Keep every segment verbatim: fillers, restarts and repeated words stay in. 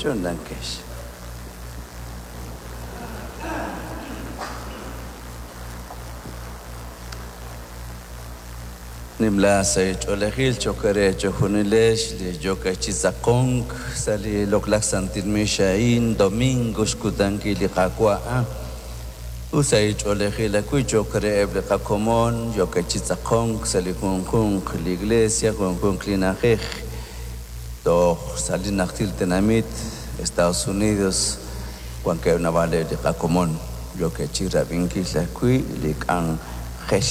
Chunlankex. Nimla sa ch'oolejil chokere chojunilex li yokachitzaqonk sa li loq'laj santil mixaín domingo xkutankil li qaawa' ut sa ch'oolejil ajwi' chokere eb' li qakomon yokachitzaqonk sa li junjunq li iglesia junjunq li na'ajej toj sa li najtil tenamit Estados Unidos wankeb' naab'al li qakomon yokachirab'inkil ajwi' li k'anjel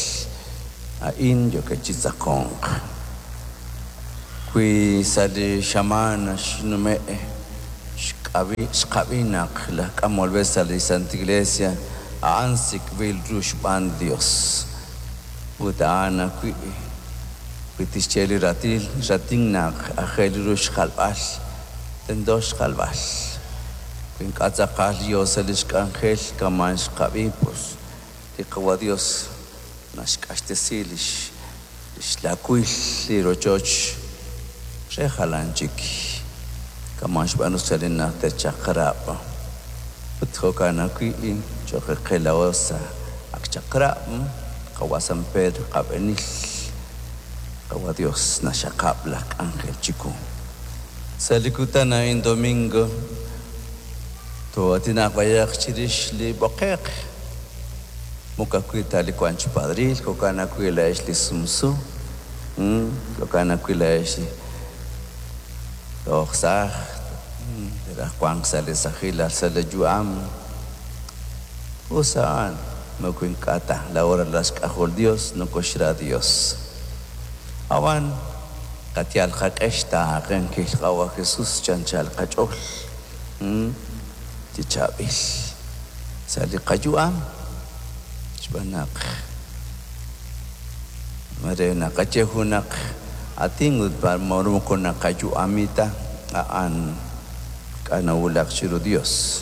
a'in yokachitzaqonq wi sa li xamaan xnume' xk'ab'i xqab'inaq laj k'amol b'e sa li Santa Iglesia a'an sik'b'il ru xb'aan Dios ut a'an ajwi' wi tixye li ratil ratin naq aajel ru xjalb'al tento xjalb'al wi ink'a' tz'aqal yo sa li xk'anjel kaman xqab'i pues li qawa Dios naxk'axtesi lix lix laawil li rochoch re jalan chik kaman xb'aanu sa li najter chaq'rab' ut jo'kan ajwi' cho'q qe sa ak chaq'rab' qawa San Pedro qab'enil qawa Dios naxaqab' laj k'anjel chiku sa li kutan a'in domingo too'aatinaq b'ayaq chirix li b'oqe'q moko ajwi' ta li wan chi padril jo'kan ajwi' la'ex li sumsu jo'kan ajwi' la'ex li toj saaj raj wank sa li sajilal sa li yu'am us a'an moko ink'a' ta la hora la xk'ajol Dios nokoxra Dios awan qatyal qak'ex taaqenkil qawa Jesús chanchal qach'ool chi chaab'il sa li qayu'am xb'aan naq mare naqaye junaq atin ut moko naqayu'amita a'an k'anawulaq chiru Dios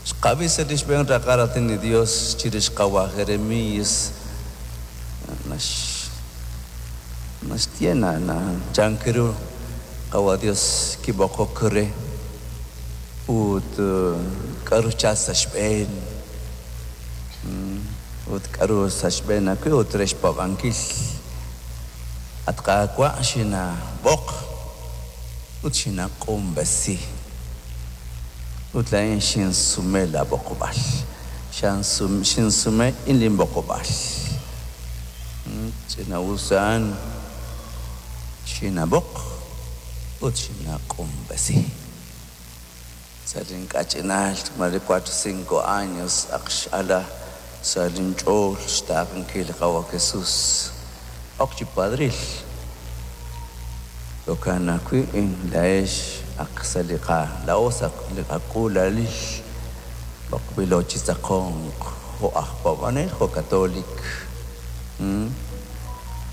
xqab'i sa li xb'een raqal raatin li Dios chirix qawa Jeremías nax naxye na na chankiru qawa Dios kib'oqok re ut k'aru chal sa xb'een ut k'aru sa xb'een ajwi' ut re xpaab'ankil at qaawa' xinab'oq ut xinaq'unb'esi ut laa'in xinsume la b'oqb'al xinsume inlinb'oqb'al ch'ina'usaan xinab'oq ut xinaq'unb'esi sa link'ach'inaal mare cuatro cinco años ak x'ala sa linch'ool xtaaqenkil qawa Jesús ok chi padril jo'kan ajwi' la'ex ak sa li qa la'o sa li qak'uulalil b'oqb'ilo chi tzaqonq jo' aj paab'anel jo' katolik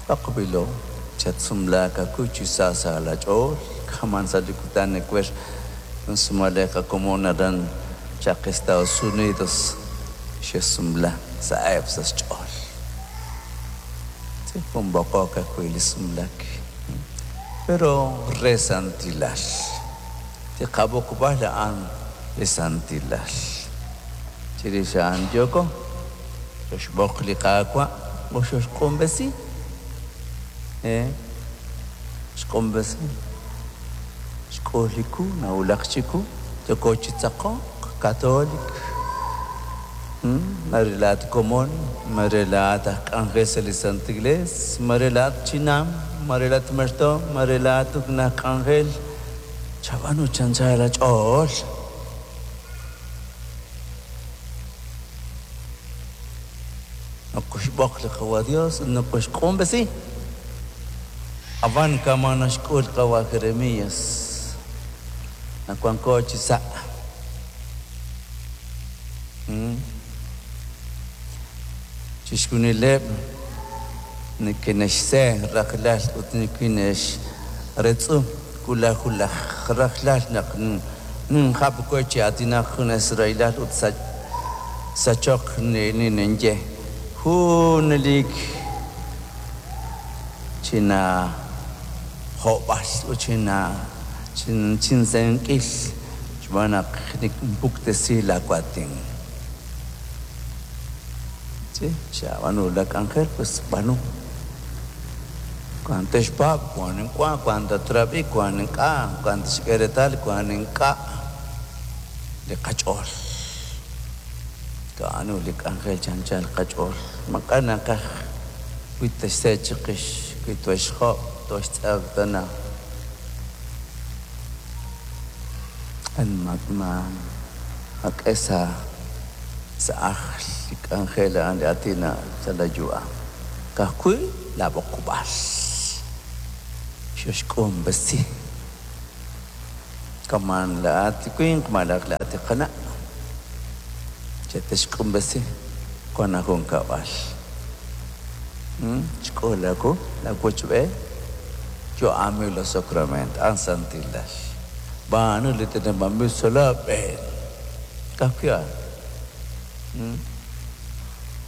b'oqb'ilo chatsumlaak ajwi' chi sa sa la ch'ool kaman sa li kutan ewer sumale qakomon aran chaq Estados Unidos xe'sumla sa'eb' sa xch'ool jun b'oqok ajwi' li sumlak pero re santilal li qab'oqb'al a'an li santilal chirix a'an yoko xoxb'oq li qaawa' o xoxq'unb'esi eh xq'unb'esi xk'uliku nawulaq chiku yoko chi tzaqonq katolik mare laat komon mare laat aj k'anjel sa li Santa Iglesia mare laat chinam mare laat merto mare laat naj k'anjel chab'anu chanchal la ch'ool nokoxb'oq li qawa Dios nokoxq'unb'esi awan kama naxk'ul qawa Jeremías nawanko chi sa' chixjunileb' nikinexse rajlal ut nikinexretzu kulajulaj rajlal naq ninjab' we chi aatinaq jun israelal ut sachoq ninenye junelik china jo'b'al ut china chin chinsenk'il Xb'aan naq nikpuktesi laawaatin. Sí, xab'aanu la k'anjel, pues b'aanu. Cuando texpaab', cuando ink'a', cuando tatrab'i, cuando ink'a', cuando tixk'e reetal, cuando ink'a' li qach'ool. Ka'anu li k'anjel chanchal qach'ool. Maq'a naqaj wi texse chiqix, wi toxjob', toxtz'aq tana. An ma mak'e sa sa ajl li k'anjel a'an li aatin sa la yu'am. Ka'ajwi' la b'oqb'al. Xoxk'umb'esi. Kaman laat li winq malaj laat li qana'. Chetexk'umb'esi wan ajunkab'al. Xk'oolaku la wochb'e yu'ami los sacramentos an santilal. B'aanu li teneb'anb'il sa' laab'een. Ka'ajwi' a'an.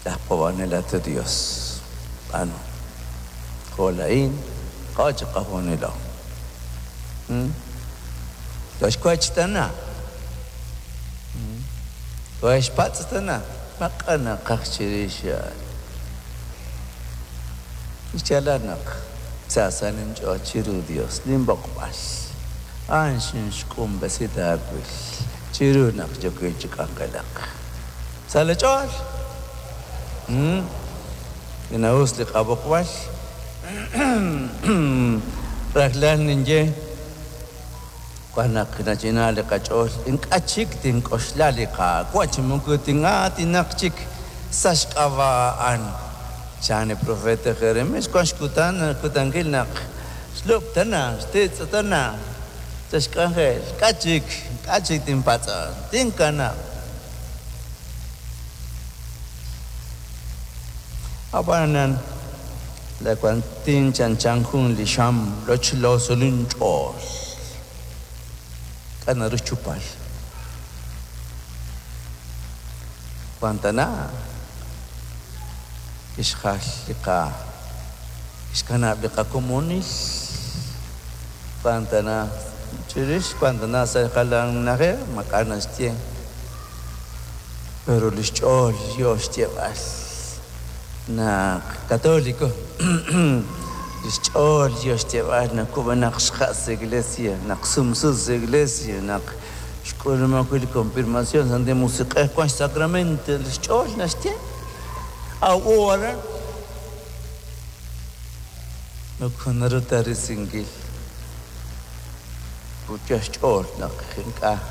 Laj paab'anel at Dios. B'aanu. Jo' laa'in q'o chiqajunilo. Toxwach tana. Toxpatz' tana. Maq'a naqaj chirix a'an. Xyaalal naq sa sa ninch'ool chiru Dios ninb'oqb'al. A'an xinxk'umb'esi taawil chiru naq yookin chi k'anjelaq. Sa la ch'ool. Inawus li qab'oqb'al. Rajlal ninye wan naq nachina li qach'ool ink'a' chik tink'oxla li Qaawa' chi moko tin'aatinaq chik sa' xk'ab'a'an. Chan li profeta Jeremías wan xkutan kutankil naq xlub' tana xtitz' tana sa' xk'anjel k'a' chik k'a' chik tinpatz'an tinkanab'. Ab'anan la kuantin chanchan jun li xam lochlo sa' linch'ool. K'a' naru xchupal. Wan tana kixjal li qa kixkanab' li qakomonil. Wan tana chirix wan tana sa' jalan na'ajej maq'a naxye. Pero li xch'ool yo xyeeb'al naq católico li xch'ool yo xyeeb'al naq kub'enaq xja' sa' iglesia, naq sumsu sa' iglesia, naq xk'uluma wi' li confirmación Santil Musiq'ej wan xsacramento li xch'ool naxye. Aw aran moko naru ta risinkil. Ut yo xch'ool naq ink'a'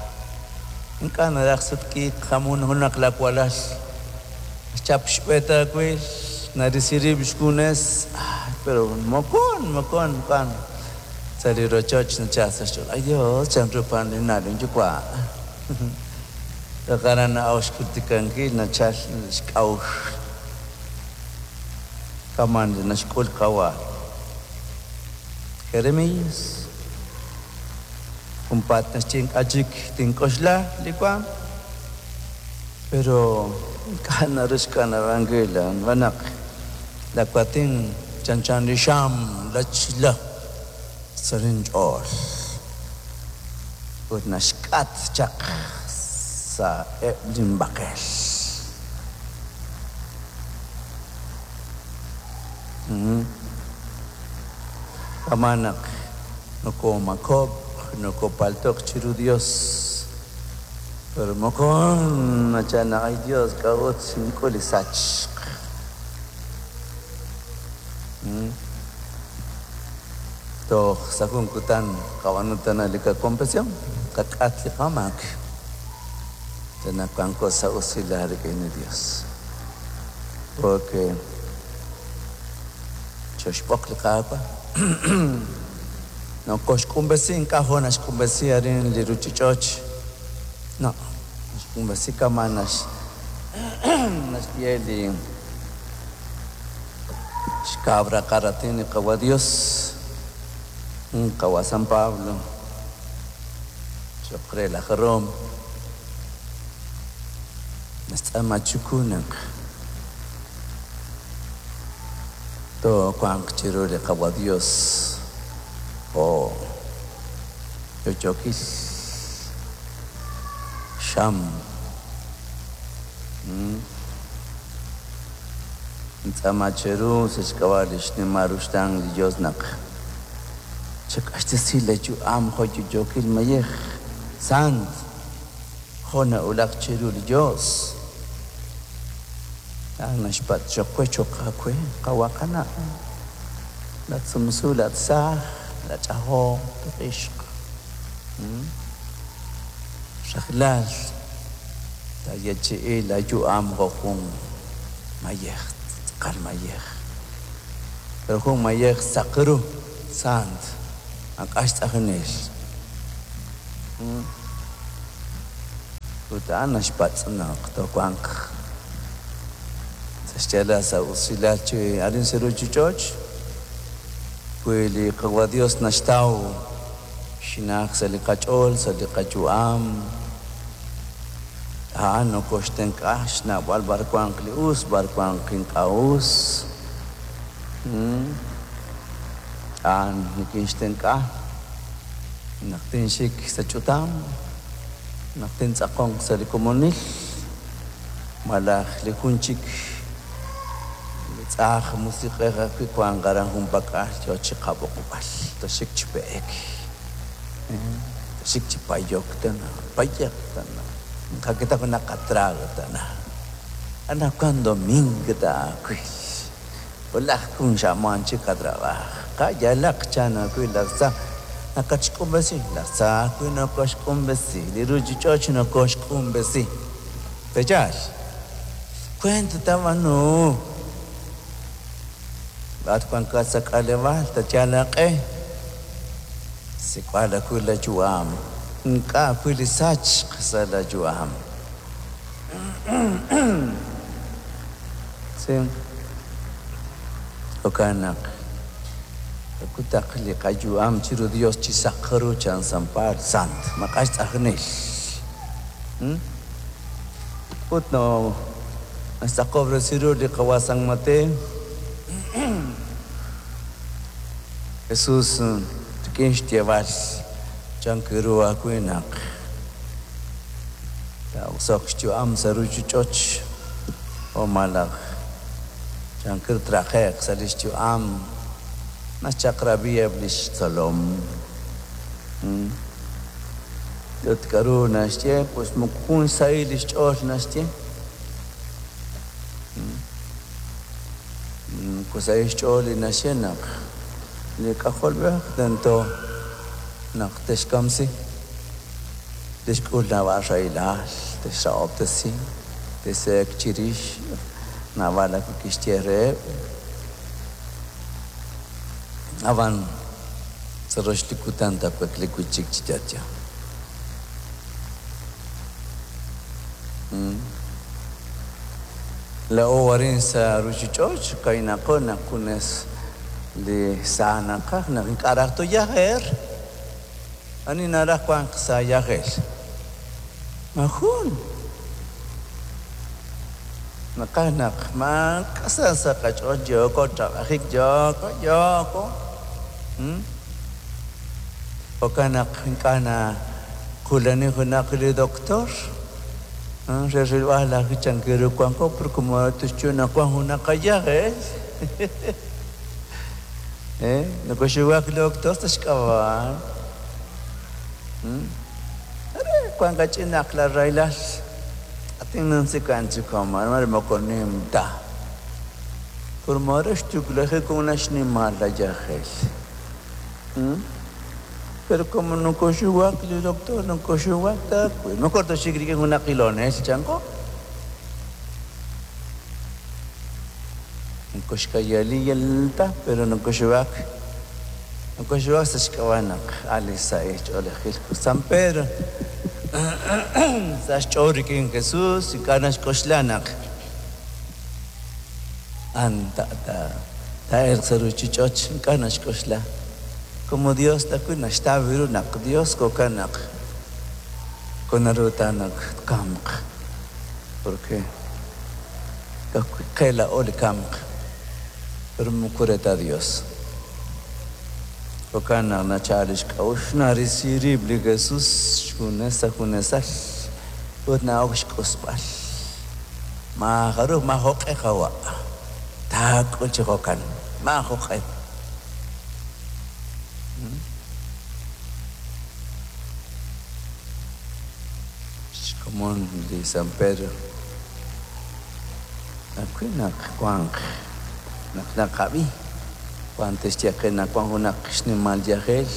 ink'a' naraj sutq'iik jamun junaq lawalal. Xchap xb'e taawil narisi rib' xjunes. Pero mokon mokon wan sa' li rochoch nachal sa' xch'ool. Ay Dios, chanru pan li na' linyuwa'. Taqaran na'aw xkutikankil nachal xk'a'uxl. Kaman li naxk'ul qawa'. Jeremías. Junpaat naxye ink'a' chik tink'oxla li waam. Pero ink'a' naru xkanab'ankil a'an. Wan naq la kuatin chanchan li xam lachla sa' linch'ool. Ut naxk'at chaq sa' eb' linb'aqel. Kaman naq nokomakob', nokopaltoq chiru Dios. Pero mokon nachal naq ay Dios k'a'ut xink'ul li sachq. Toj sa' jun kutan qab'aanu tana li qaconfesión, qak'at li qamaak. Naq wanko sa' usilal rik'in li Dios. Porque xoxb'oq li Qaawa'. Nokoxk'umb'esi ink'a' jo' naxk'umb'esi arin li ruchich'och. No, naxk'umb'esi kama' nax naxye li xkabra qaratin li Qawa' Dios. Qawa' San Pablo. Choq re laj Roma. Naxtz'aama chiku naq toowanq chiru li Qawa' Dios jo' yo'yookil Xam. Ntz'aama cheru sa' xk'ab'a' li xnimal ruxtaan li Dios naq chak'axtesi la yu'am jo' yo'yookil mayej sant jo' na'ulaq chiru li Dios. A'an naxpatz' choq we choq aawe qawaqana' la tzumsu la tzaaj la ch'ajom tuq'ixq. Rajlal tayechi'i la yu'am jo' jun mayej tz'aqal mayej. Pero jun mayej saq ru sant ak'ax tz'ajnel. Ut a'an naxpatz' naq towanq sa' xyaalal sa' usilal chi arin sa' ruchich'och' wi li Qawa' Dios naxtaw xinaq sa' li qach'ool sa' li qayu'am a'an nokoxtenq'a xnawb'al b'ar wanq li us b'ar wanq ink'a' us. A'an nikinxtenq'a naq tinxik sa' ch'utam naq tintz'aqonq sa' li komonil malaj li jun chik li tz'aj musiq'ej ajwi' wanq aran junpak'al yo chi qab'oqb'al toxik chi b'eek toxik chi payok tana payaq tana nqakita junaq qatrago tana anaqwan domingo taawil ulaj kun xamaan chi qatrabaj qayalaq chan ajwi' laj tza naqachk'umb'esi laj tza ajwi' nokoxk'umb'esi li ruchich'och' nokoxk'umb'esi peyaal kwent tab'anu laat wankat sa' k'aleb'aal tayal aq'e sik'b'al ajwi' la yu'am ink'a' ajwi' li sachq sa' la yu'am. Sí. Jo'kan naq kakutaq li qayu'am chiru Dios chi saq ru chan San Pablo sant maq'ax tz'ajnel. Ut no naxtz'aqob'resi ru li Qawa' San Mateo Jesús rik'in xyeeb'al chan kiru ajwi' naq taa'oso'q xyu'am sa' ruchich'och' o malaj chan kiru traqe'q sa' li xyu'am naxchaq'rab'iheb' li xtzolom. Ut k'aru naxye pues moko jun xsahil li xch'ool naxye. Moko sahil xch'ool li naxye naq li k'ajolb'ej tento naq texkamsi texk'ul naab'al rahilal texra'ob'tesi teseek chirix naab'al ajwi' kixye reheb'. Ab'an sa' rox li kutan taawakli wi' chik chi yo'yo. La'o arin sa' ruchich'och' kaynaqo naq junes li sa naqaj naq ink'a' raj toyajer ani naraj wanq sa' yajel majun naqaj naq maak'a' sa' qach'ool yooko trabajik yooko yooko. Jo'kan naq ink'a' nakulani junaq li doctor re rilb'al ajwi' chan kiru wanko pero como tixyu naq wan junaq qayajel eh nokoxuwak li doctor sa' xk'ab'a'. Are wan kach'inaq la rahilal atin nansikan chikoma mare moko nim ta pero mare xtuklajik una xnimal la yajel. Pero como nokoxuwak li doctor nokoxuwak ta mejor toxik rik'in junaq ilonel chanko nokoxkayaliyal ta pero nokoxuwak nokoxuwak sa' xk'ab'a' naq ali sa'il ch'oolejil San Pedro sa' xch'ool rik'in Jesús ink'a' naxk'oxla naq an ta ta ta'elq sa' ruchich'och' ink'a' naxk'oxla como Dios ajwi' naxtaw ru naq Dios jo'kan naq konaru ta naq tkamq porque qe la'o li kamq pero moko re ta Dios. Jo'kan naq nachal li xk'a'uxl narisi rib' li Jesús xjunes sa' junesal Ut na'ok xk'usb'al. Maajaruj maajoq'e qawa'. Taak'ul chi jo'kan. Maajoq'e. Xkomon li San Pedro. Ajwi' naq wanq naq naqab'i wan tixye qe naq wan junaq xnimal yajel.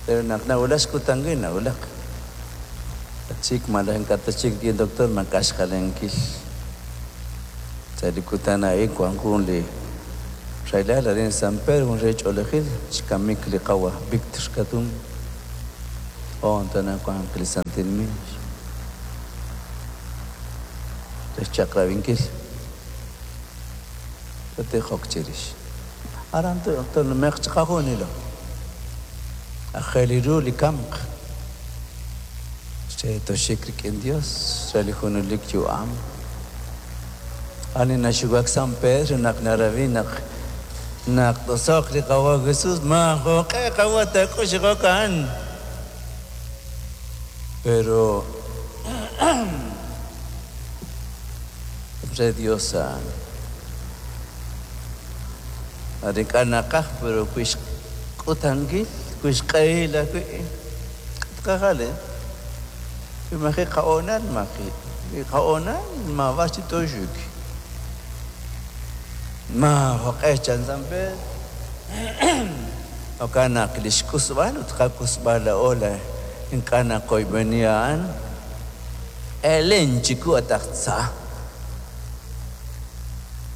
Pero naq nawulak xkutankil nawulak. Tachik malaj ink'a' tachik rik'in doctor maak'a' xjalenkil. Sa' li kutan a'in wan jun li rahilal arin San Pedro jun re ch'oolejil xkamik li qawa Víctor Katún. Hoon tana wanq li Santil Miix. Re xchaq'rab'inkil. Totijok chirix. Aran tonumeq chiqajunilo. Aajel ru li kamq. Re toxik rik'in Dios, re li junelik yu'am. Ani naxuwak San Pedro naq narabi naq naq tosoq li qawa Jesús maajoq'e qawa taak'ux jo'kan. Pero re Dios a'an. Arin ink'a' naqaj pero wi xk'utankil, wi xq'ehil ajwi' tqajal, eh? Wi maji' qa'oonal maji'. Wi qa'oonal mab'ax chi toxuk. Maajoq'e chan San Pedro. Jo'kan naq li xk'usb'al ut qak'usb'al la'o la ink'a' naqoyb'eni a'an elen chiku at aj tza.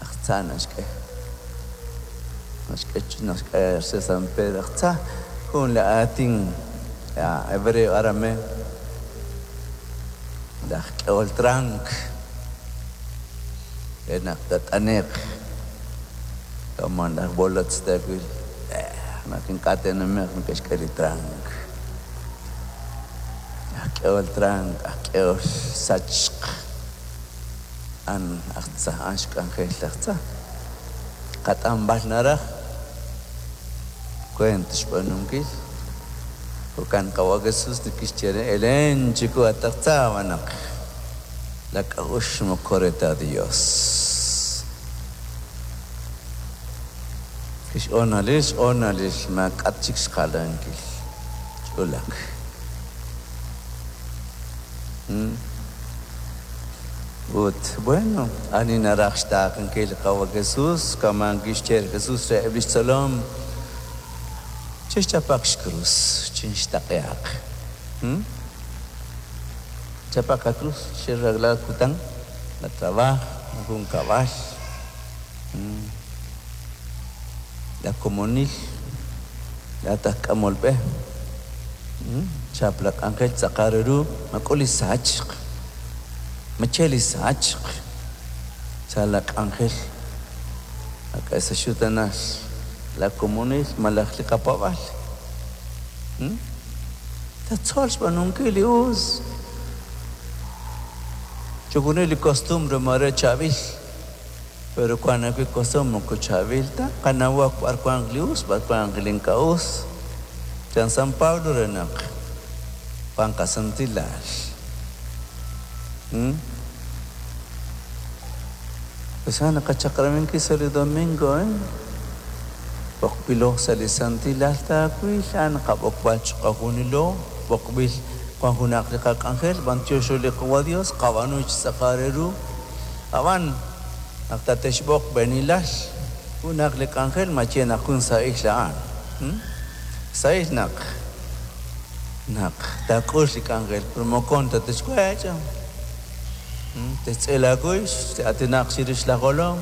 Aj tza naxk'e. Naxk'e naxk'e xe San Pedro aj tza jun la aatin hebreo arameo. Laj k'ehol trank. Re naq tat'aneq. Kama laj bolotz taawil. Naq ink'a' te'numeq neke'xk'e li trank. Aj k'ehol trank, aj k'ehol sachq. An aj tza, an xk'anjel laj tza. Qat'anb'al naraj. Kuent xb'aanunkil. Jo'kan qawa Jesús kixye re elen chiku at aj tza naq la k'a'uxl moko re ta Dios. Kix'oonalil, x'oonalil maak'at chik xjalankil. Ch'ulak. Ut bueno, ani naraj xtaaqenkil qawa Jesús, kaman kixye Jesús re eb' lix tzolom. Chixchapaq xkrus, chinxtaqeaq. Chapaq cruz, xirreglar kutan, la trabajo, jun kab'al. La komonil, la taj k'amol b'e. Chap la k'anjel tz'aqal ru, mak'ul li sachq. Mache li sachq. Sa la k'anjel. Ak'a sa xutanas la komonil malaj li qapab'al. Tatzol xb'aanunkil li us. Chujunil li costumbre mare chab'il. Pero cuando hay costumbre moko chab'il ta, qanawaq b'ar wanq li us, b'ar wanq li ink'a' us. Chan San Pablo re naq wan qasantilal. Pues ana qachaqraminkil sa li domingo, eh? B'oqb'ilo sa li santilal taawil, a'an qab'oqb'al chiqajunilo, b'oqb'il wan junaq li qak'anjel, b'antiox li qawa Dios, qab'aanu chi tz'aqal re ru. Ab'an naq tatexb'oq b'enilal, junaq li k'anjel mache naq jun sa'il a'an. Sa'il naq naq taak'ul li k'anjel, pero mokon tatexwech'. Tetz'el akux, atinaq chirix la jolom.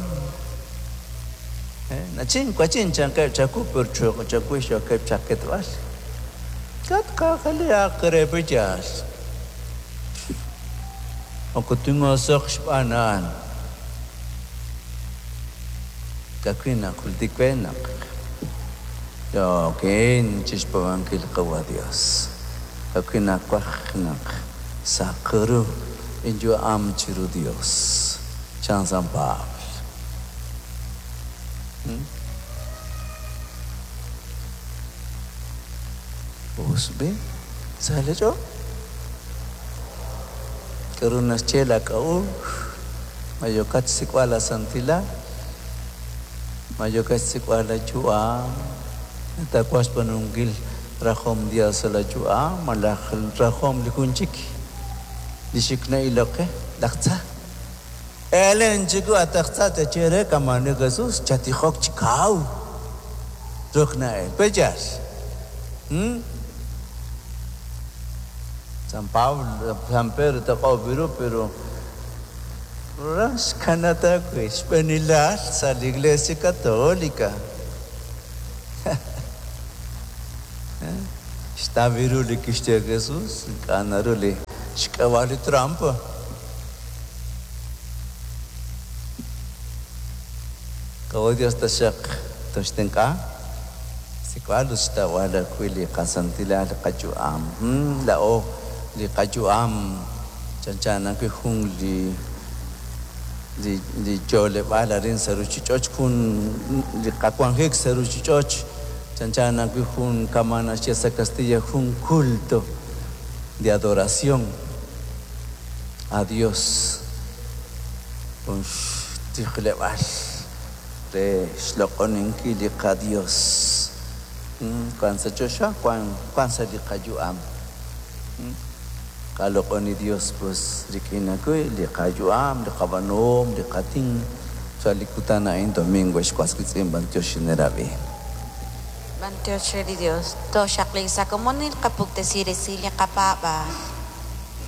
Nachin, kwachin chanqeb chaku, pero chuq chakuix yokeb chaketb'al. Kat qajali aqrepiyal. Okutungosoq xb'anaan. Kakwina jultikwenaq. Yokin chixpawankil qawa Dios. Kakwina kwajnaq saqru inyu am chiru Dios. Chan San Pablo. Usbi, sale yo. K'aru naxye laak'a'uxl? Ma yookat xsik'b'al laasantilal? Ma yookat xsik'b'al laayu'am? Taawaj xb'aanunkil rajom Dios sa' laayu'am malaj rajom li jun chik li xik na'ilok qe, laj tza. Elen chiku at aj tza tache re kama' li Jesús, chatijok chi kaw. Ruk na'el. Pe'yaal? Hmm? San Pablo, San Pedro taq'ob' ru, pero xkanata wi' xb'eenilal sa' la Iglesia Católica. Xtaw ru li kixye Jesús, ink'a' naru li xk'ab'a' li trampa. Qawa' Dios taxaq toxtenq'a sik'b'al ut xtawb'al ajwi' li qasantilal li qayu'am. Laa'o li qayu'am chanchan ajwi' jun li li li yo'leb'aal arin sa' ruchich'och', jun li qawanjik sa' ruchich'och' chanchan ajwi' jun kama' naxye sa' Castilla jun culto de adoración a Dios. Jun xtijleb'aal re xloq'oninkil li qaDios. Wan sa' choxa, wan wan sa' li qayu'am. Qaloq'oni Dios pues rik'in ajwi' li qayu'am, li qab'aanuhom, li qatin sa' li kutan a'in domingo xwas wiitz'in b'antiox xinerab'i. B'antiox re li Dios. Tooxaqli sa' komonil qapuktesi resil li qapaab'aal.